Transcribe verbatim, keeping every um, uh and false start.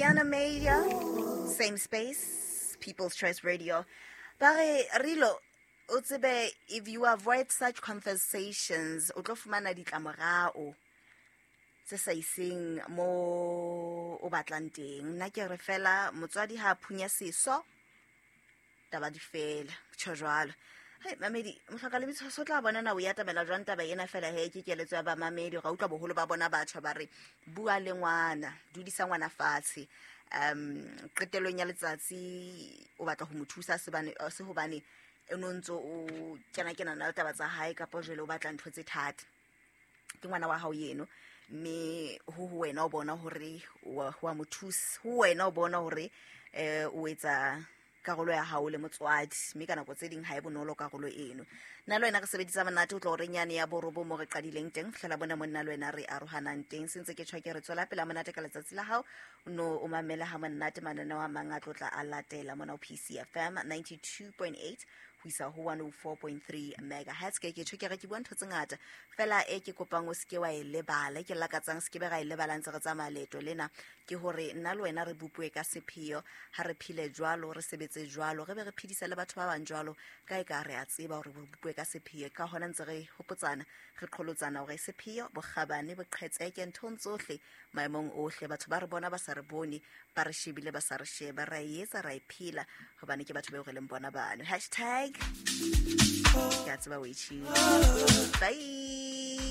Tiana Major, same space, People's Choice Radio. Ba re Rilo, o tsebe if you avoid such conversations, o tlo fumana ditlamorao tse sa iseng mo o batlang teng. Nna ke re fela motswadi ha a phunya seso, taba di fela, tjho jwalo. Hai, mamedi, mohloka le bitso so tla bona na o ya tabela jwang taba ena fela he ke keletso ya ba mamedi ga utlwa boholo ba bona batjha ba re bua le ngwana, dudisa ngwana fatshe. Um qetellong ya letsatsi o batla ho mo thusa sebane se hobane e no ntso o kena kena na le taba tsa hae kapa jwale o batla ntho tse thata. Ke ngwana wa hao yeno mme ho ho wena o bona hore wa wa mo thusa, ho wena o bona hore eh o etsa karolo ya hao le motswadi mme ka nako tse ding ha e bonolo karolo eno. Nna le wena re sebedisa monate o tlo re nyane ya borobo mo re qadileng teng fihlela bona monna le wena re arohanang teng. Sentse ke tjho ke re tswela pele monate ka letsatsi la hao no o mamela ha monate mananeo a mang a tlotla a latela mona ho P C F M ninety-two point eight ho isa ho one oh four point three megahertz. Ke ke tjho ke re ke bua ntho tse ngata fela e ke kopang o seke wa e lebala, ke lakatsang seke be ra e lebala ntse re tsamaya leeto lena ke hore nna le wena re bopuwe ka sepheo, ha re phile jwalo, re sebetse jwalo, re be re phedisa le batho ba bang jwalo ka e ka re a tseba hore re bopuwe ka sepheo. Ka hona ntse re hopotsana, re qholotsana hore sepheo, bokgabane, boqhetseke nthong tsohle maemong ohle, batho ba re bona ba sa re bone, ba re shebile ba sa re sheba, ra e etsa ra e phela hobane ke batho bao re leng bona bano. Hashtag ke a tseba o e tjhile. Bye.